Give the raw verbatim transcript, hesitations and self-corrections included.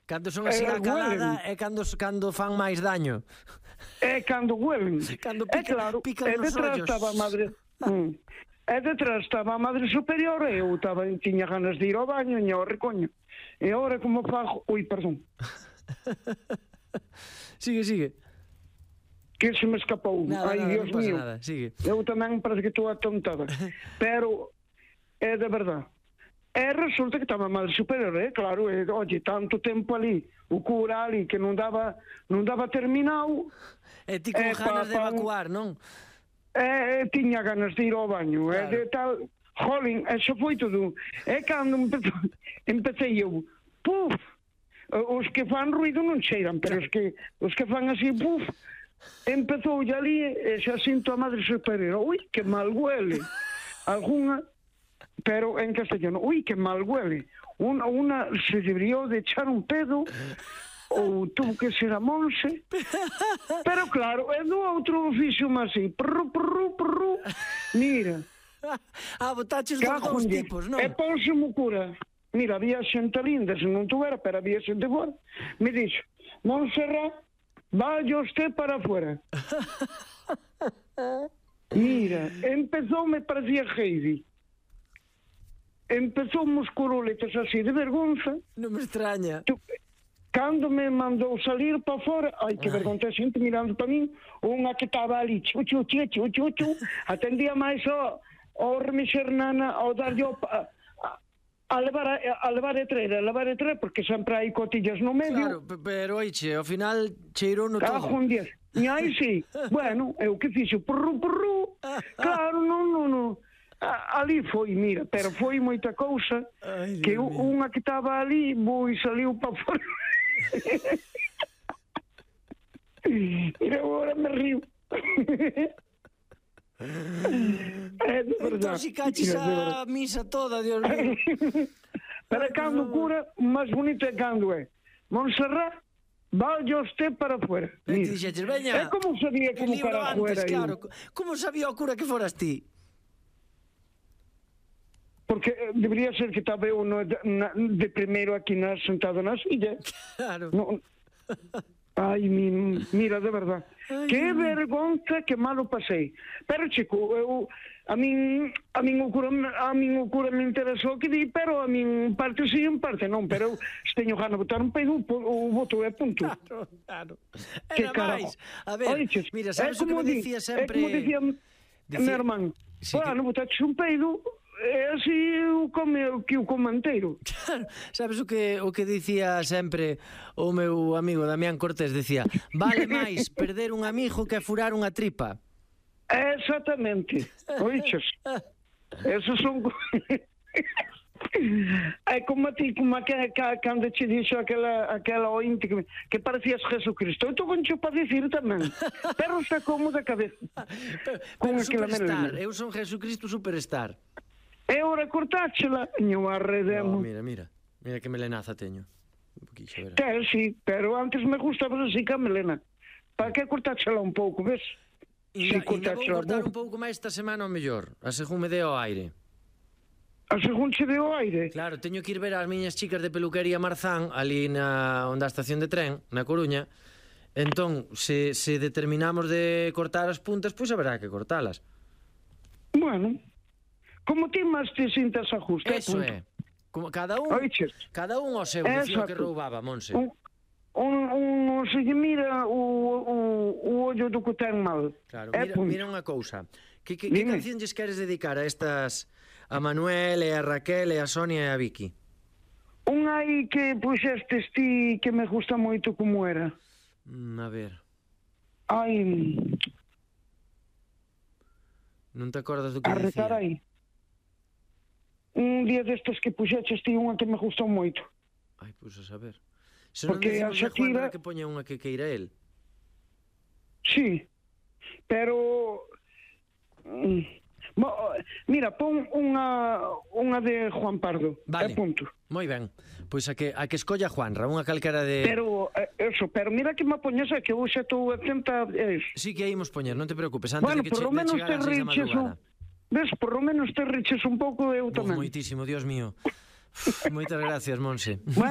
Cando son así na calada é cando, cando fan máis daño. É cando huelen. Cando é pica, claro, pican e nos detrás ollos. estaba a madre... Mm. E detrás estaba a madre superior e eu estaba, tiña ganas de ir ao baño e ao recoño. E agora como fago... Ui, perdón. Sigue, sigue. Que se me escapou. Nada, Ai, nada, Dios non pasa mío. nada. Sigue. Eu tamén parece que estou atontada. Pero é de verdade. E resulta que estaba a madre superior, é claro, e, oye, tanto tempo ali, o cura ali que non daba non daba terminado. E ti con eh, ganas pa- de pa- evacuar, non? E, e tiña ganas de ir ao baño, Claro. e de tal, jolín, eso foi todo. E cando empe- empecé eu, puf, os que fan ruido non cheiran, pero os que os que fan así, puf, empezou ali e xa sinto a madre superior, ui, que mal huele. Alguna, pero en castellano, ui, que mal huele. Una, una se debería de echar un pedo, ou tuvo que ser a Monse, pero claro, é do outro oficio máis así, prru, prru, prru, mira, Ah, botaches dos cajo dous en Dios. tipos, non? E ponse mo cura, mira, había xente linda, se non tuvera, pero había xente fora, me dixo, Montserrat, vaya usted para afuera. Mira, empezou, me parecía Heidi. Empezou uns curuletes así de vergonza. Non me extraña. Tu, cando me mandou salir para fora, ai, que vergonza, xente mirando para min, unha que estaba ali, chu, chu, chu, chu, chu, chu, atendía máis ao, ao remexer nana, ao darlle a, a, a levar a, a levar a treira, a levar a treira, porque sempre hai cotillas no medio. Claro, pe- pero oiche, ao final cheirou no Cajo todo. en diez. E aí sí, bueno, é o que fixo, prru, prru, claro, non, non, non. A, ali foi, mira, pero foi moita cousa. Ai, Dios que mío. unha que estaba ali, boi, saliu para fora. Mira, agora me río. É de verdade. Intoxicaches Mira, de a verdade. misa toda, Dios mío. Pero cando cura, máis bonito é cando é Montserrat, vaya usted para afuera. E ti Mira. dixeches, veña, É como sabía que como libro para antes, afuera. claro. Como sabía o cura que foras ti? Porque eh, debería ser que estaba eu no, na, de primeiro aquí na, sentado na silla. Claro. No, ai, mi, mira, de verdad. Ai, Que Dios mío. vergonza que malo pasei. Pero, chico, eu, a min, a min o cura, a min o cura me interesou que di, pero a min parte sí, en parte non. Pero eu, se teño gana de botar un peido, o voto é punto. Claro, claro. Que Era carajo. máis. A ver, Oiches, mira, é sabes o que como me di- dicía É sempre... como dicía, Dicía- mi hermano, Sí, bueno, botaches un peido, é así o come, que o comanteiro. Claro, sabes o que o que dicía sempre o meu amigo Damián Cortés, decía, vale máis perder un amigo que furar unha tripa. Exactamente. Oiches, esos son... É como a ti, como a que, que, cando te dixo aquela, aquela ointe que, que parecías Jesucristo. Eu estou concho para dicir tamén. Pero está como da cabeza. Pero, Con pero aquela superstar, melena. eu son Jesucristo superstar. É hora cortáchela. Ñu No, arredemos. mira, mira. Mira que melenaza teño. Un poquillo, verás. Ten, sí, pero antes me gustaba así que a melena. Para que cortáchela un pouco, ves? Inda, inda Si vou cortáchela cortar un un pouco máis esta semana ao mellor, a según me dé ao aire. A según se deu aire. Claro, teño que ir ver as miñas chicas de peluquería Marzán ali na onde a estación de tren, na Coruña. Entón, se, se determinamos de cortar as puntas, pois haberá que cortalas. Bueno, como ti máis te sintas a justo. Eso é. Como cada un, Oiches. cada un ao seu, dicía o que Exacto. roubaba, Monse. Un, un, un, se lle mira o, o, o ollo do que ten mal. Claro, É mira, punto. mira unha cousa. Que, que, que Dime. canción lles queres dedicar a estas, a Manuel e a Raquel e a Sonia e a Vicky? Un aí que puxestes ti que me gusta moito como era. Mm, a ver, Ai, non te acordas do que a retar dicía? aí. Un día destes que puxeches ti unha que me gustou moito. Ai, pois a saber. Se non Porque a decimos a Juanra Shakira- que poña unha que queira el. Sí, pero... mm, mo- mira, pon unha, unha de Juan Pardo. Vale. É punto. Moi ben. Pois a que, a que escolla Juanra, unha calquera de... Pero, eh, eso, pero mira que me poñes que eu xa estou atenta a eso. Sí que aí imos poñer, non te preocupes, antes Bueno, de que por che, lo de menos chegar te ás seis da riches un... madrugada. Ves, por lo menos te riches un pouco eu Uf, tamén. moitísimo, Dios mío. Uf, moitas gracias, Monse. Bueno,